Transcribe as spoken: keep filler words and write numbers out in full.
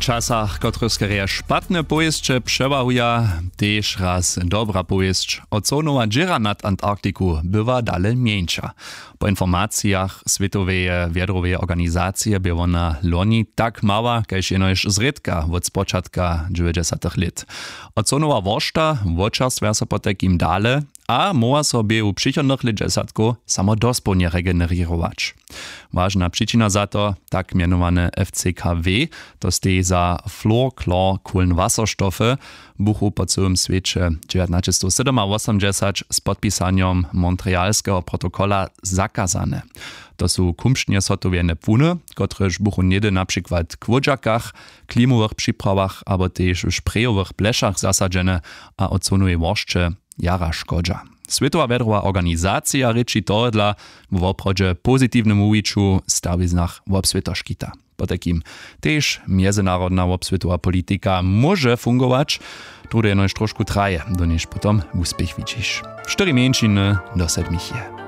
Časach, kotrychž skerje špatne powěsće přewahuja, tež raz dobra powěsć. Ozonowa dźěra nad Antarktiku była dale mjeńša. Po informacijach Swětoweje wjedroweje organizacije bě wona loni tak mała kaž jenož zrědka wot spočatka dźewjećdźesatych lět. Ozonowa woršta wočerstwja so potajkim dale a móhła so běhu přichodnych lětdźesatkow samo dospołnje regenerěrować. Wažna přičina za to, tak mjenowane F C K W, to steji za fluorchlorkohlenwasserstoffe, buchu po cyłym swěće dźewjatnaćestowsydomawosomdźesać z podpisanjom Montrealskeho protokola zakazane. To su kumšnje zhotowjene płuny, kotrež buchu něhdy na přikład w chłódźakach, klimowych připrawow abo tež w šprejowych plešach zasadźene a ozonowej woršće jara škodźa. Swětowa wjedrowa organizacija rěči tohodla w woprawdźe pozitiwnym wuwiću w stawiznach wobswěta škita. Potajkim tež mjezynarodna wobswětowa politika móže fungować, tołde jenož trošku traje, do nějž potom wuspěch widźiš. Štyri mjeńšiny do sedmich je.